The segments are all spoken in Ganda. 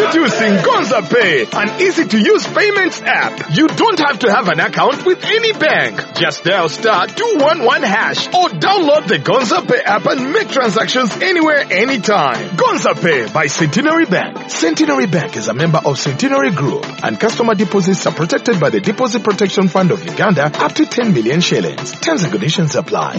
Introducing Gonza Pay, an easy-to-use payments app. You don't have to have an account with any bank. Just dial *211# or download the Gonza Pay app and make transactions anywhere, anytime. Gonza Pay by Centenary Bank. Centenary Bank is a member of Centenary Group, and customer deposits are protected by the Deposit Protection Fund of Uganda up to 10 million shillings. Terms and conditions apply.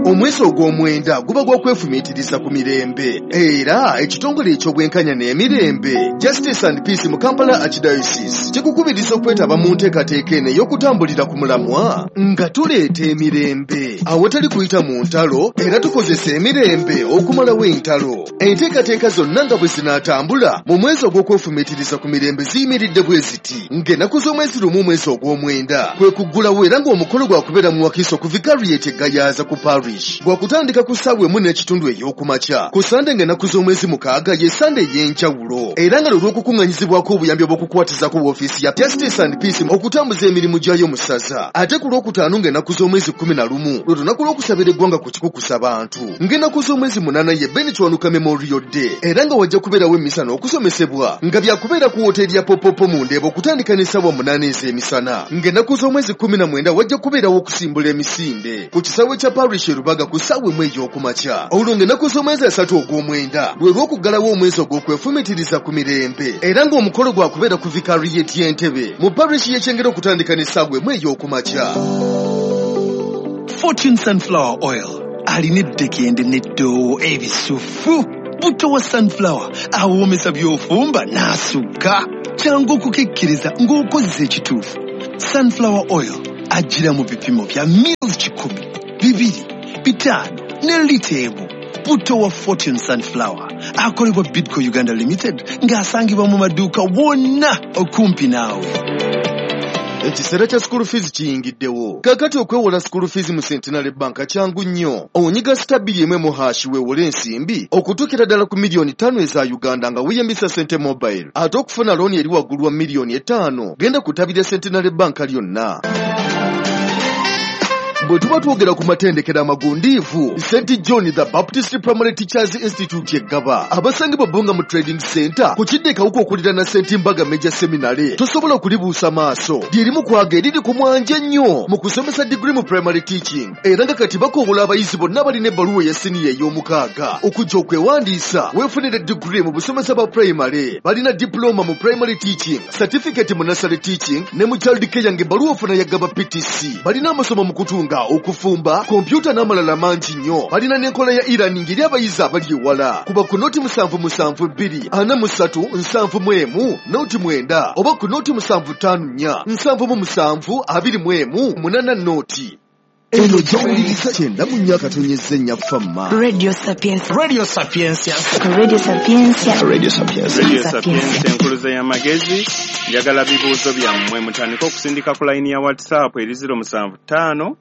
Omwezi ogw'omwenda guba gwa kwefumiitiriza ku mirembe, era ekitongole eky'obwenkanya n'emirembe Justice and Peace mu Kampala Archdiocese kikukubiriza okwetaba mu nteekateeka eno ey'okutambulira ku mulamwa nga tuleeta emirembe awatali kuyita mu ntalo, era tukozesa emirembe okumalawo entalo. Enteekateeka zonna nga bwe zinaatambula mu mwezi ogw'okwefumiitiriza ku mirembe ziyimiridde bwe ziti: ng'ennaku z'omwezi 1 omwezi ogw'omwenda kwe kuggulawo, era ng'omukolo gwakubeera mu Wakiso ku Vicariate Gayaza ku Parish gwakutandika ku ssaawa 1:15 ey'okumakya. Ku Sande ng'ennaku z'omwezi 6 ye Sande ey'enjawulo, era nga lwe lw'okukuŋŋanyizibwako obuyambi obw'okukwatizako woofiisi ya Justice and Peace okutambuza emirimu gyayo mu ssaza. Ate ku Lwokutaano ng'ennaku z'omwezi 11 lwe lunaku lw'okusabira eggwanga ku kikukusa bantu. Ng'ennaku z'omwezi 8 ye Ben Kiwanuka Memorial Day, era nga wajja kubeerawo emmisa n'okusomesebwa nga byakubeera ku woteeri ya Popopo mu Ndeeba okutandika n'essaawa 8 ez'emisana. Ng'ennaku z'omwezi 19 wajja kubeerawo okusimbula emisinde ku kisaawe kya Parish Rubaga ku ssaawa 1 ey'okumakya. Olwo ng'ennaku z'omwezi 3 ogw'omwenda lwe lw'okuggalawo omwezi ogw'okwefumitiriza ku mirembe, era ng'omukolo gwakubeera ku Vicariate y'Entebe mu Parish y'Ekyengera okutandika n'essaawa 1 ey'okumakya. Fortune Sunflower Oil alina eddekende n'eddoowo ebisufu. Buto wa sunflower awoomesa by'ofumba n'asukka. Kyangu okukekkeriza ng'okozesa ekituufu. Sunflower Oil ajjira mu bipimo bya mils 100, 200, 500 ne lita 1. Buto wa Fortune Sunflower akolebwa Bidco Uganda Limited ng'asangibwa mu maduuka wonna okumpi naawe. Ekiseera kya school fees kiyingiddewo. Kaakati okwewola school fees mu Centenary Bank kyangu nnyo. Onyiga *2 1# weewole ensimbi okutuukira ddala ku miliyoni 5 eza Uganda nga weeyambisa Sente Mobile. Ate okufuna looni eri waggulu wa miliyoni 5 genda ku ttabi lya Centenary Bank lyonna. Bwe tuba twogera ku matendekero amagundiivu, St John the Baptist Primary Teachers Institute eggaba abasangibwa Bbunga mu Trading Center ku kidde Kawuka okuliraana St Mbaga Major Seminary, tosobola kulibuusa maaso. Lyerimu kwaga eriri ku mwanje ennyo mu kusomesa digiri mu primary teaching, era nga kati bakoowola abayizi bonna abalina ebbaluwa eya siniya ey'omukaaga okujja okwewandiisa weefunire digiri mu busomesa bwa primary. Balina diploma mu primary teaching, certificate mu nursery teaching ne mu child care ng'ebbaluwa ofuna ya Gaba PTC. Balina amasomo mu kutunga, okufumba, kompyuta n'amalala mangi nnyo. Balina n'enkola ya e-learning eri abayizi abali ewala. Kuba ku 077 2 43 71 09 oba ku 075 4 77 21 80. Eno gy'owuliriza 94.4 Famma. Radio Sapientia. Radio Sapientia. Radio Sapientia. Radio Sapientia. Radio Sapientia, enkuluze y'amagezi. Njagala bibuuzo byammwe mutandike okusindika ku layini ya WhatsApp eri 075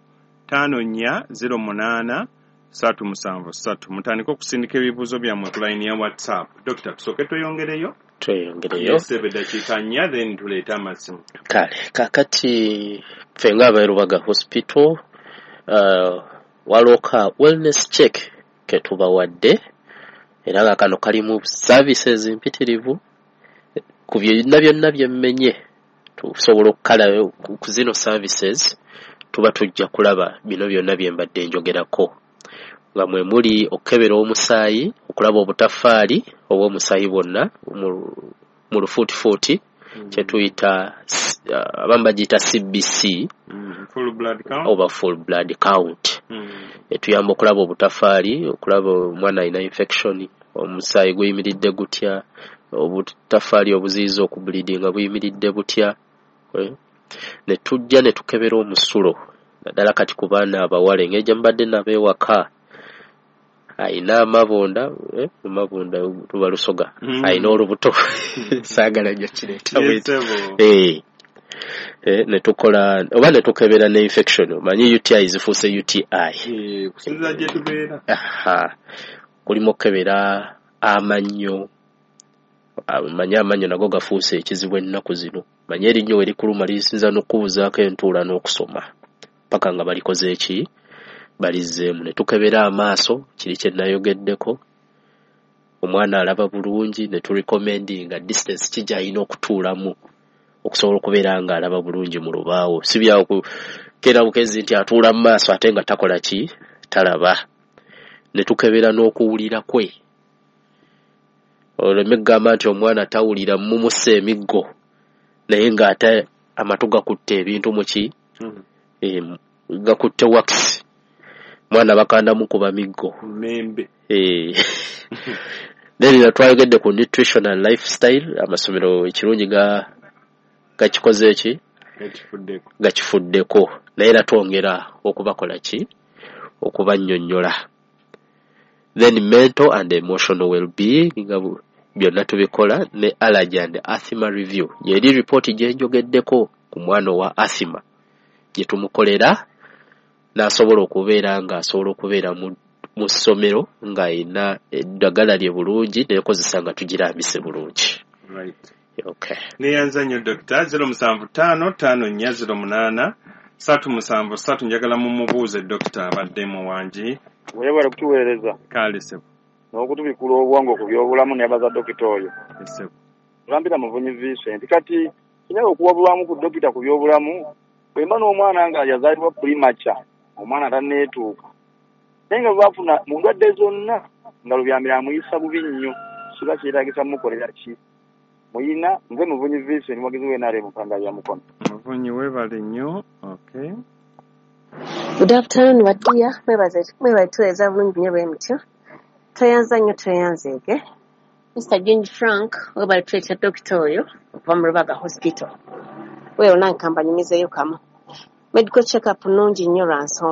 54 08 373. Mutandike okusindika ebibuuzo byammwe ku layini ya WhatsApp. Dokita, tusooke tweyongereyo. Tweyongereyo. Yes, dakiika 4 then tuleete amasimu. Kale kaakati ffe ng'aba Rubaga Hospital, waliwo ka wellness check ke tubawadde, era nga kano kalimu services mpitirivu ku byonna byonna byemmenye. Tusobola okukala ku zino services, tuba tujja kulaba bino byonna bye mbadde njogerako, nga mwe muli okukebera omusaayi okulaba obutafaali obw'omusaayi bwonna mu lufuutifuuti, kyetuyita abamu bagiyita CBC Full blood count. Oba full blood count. Etuyamba okulaba obutafaali, okulaba omwana alina infection, omusaayi guyimiridde gutya, obutafaali obuziyiza okubleedinga buyimiridde butya. Ne tujja ne tukebera omusulo, naddala kati ku baana abawala, engeri gye mubadde nabo ewaka, ayina amabunda, amabunda tuba Lusoga, ayina olubuto, saagala nnyo kireeta bweti. Ne tukola oba ne tukebera ne infection, omanyi UTI zifuuse UTI. Kusinziira gye tubeera. Aha. Kulimu okukebera amannyo, amanyi amannyo nago gafuuse ekizibu ennaku zino. Manye erinnyo we likuluma lisinza n'okukubuzaako entuula n'okusoma paka nga balikoze eki? Balizzeemu ne tukebera amaaso, kiri kye nayogeddeko, omwana alaba bulungi, ne turecommendinga distance ki gy'alina okutuulamu okusobola okubeera ng'alaba bulungi mu lubaawo. Si bya kukeera bukezi nti atuula mu maaso ate nga takola ki, talaba. Ne tukebera n'okuwulira kwe. Oleme kugamba nti omwana tawulira, mumussa emiggo naye ng'ate amatu gakutte ebintu mu ki, gakutte wax. Mwana bakanda mukuba miggo. Mmembe. Then twayogedde ku nutrition and lifestyle, amasomero ekirungi gakikoze ki? Gakifuddeko. Gakifuddeko. Naye era twongera okubakola ki? Okubannyonnyola. Then mental and emotional well-being nga byonna tubikola, ne allergy and asthma review. Yeri ripooti gye njogeddeko ku mwana owa asthma gye tumukolera n'asobola okubeera ng'asobola okubeera mu ssomero ng'ayina eddagala lye bulungi n'ekozesa nga tugirambise bulungi. Right. Okay. Neyanza nnyo Dokita. 075 54 08 373, njagala mumubuuze Dokita abaddemu wangi. Weebale kutuweereza. Kale ssebo. N'okutubikula obwongo ku byobulamu, nebaza dokita oyo. Ssebo. Tulambira Muvunyi Vincent. Kati kinyaga okuwabulwamu ku dokita ku byobulamu, bwe mba n'omwana nga yazaalibwa premature, omwana tanneetuuka, naye nga bwebafuna mu ndwadde zonna nga Lubyamira amuyisa bubi nnyo, kiba kyetaagisa mukolera ki? Muyina nze Muvunyi Vincent, muwagizi w'NRM Mpanga ya Mukono. Muvunyi, weebale nnyo. Okay. Good afternoon, Wadiya. Mwebaze mwebale tuweereza bulungi nnyo bwe mutyo. Tweyanza nnyo, tweyanzeege. Mr. James Frank, webale tuleetera dokita oyo okuva mu Rubaga Hospital. Weewo nange kambanyumizeeyo kamu. Medical check-up nnungi nnyo lwa nsonga.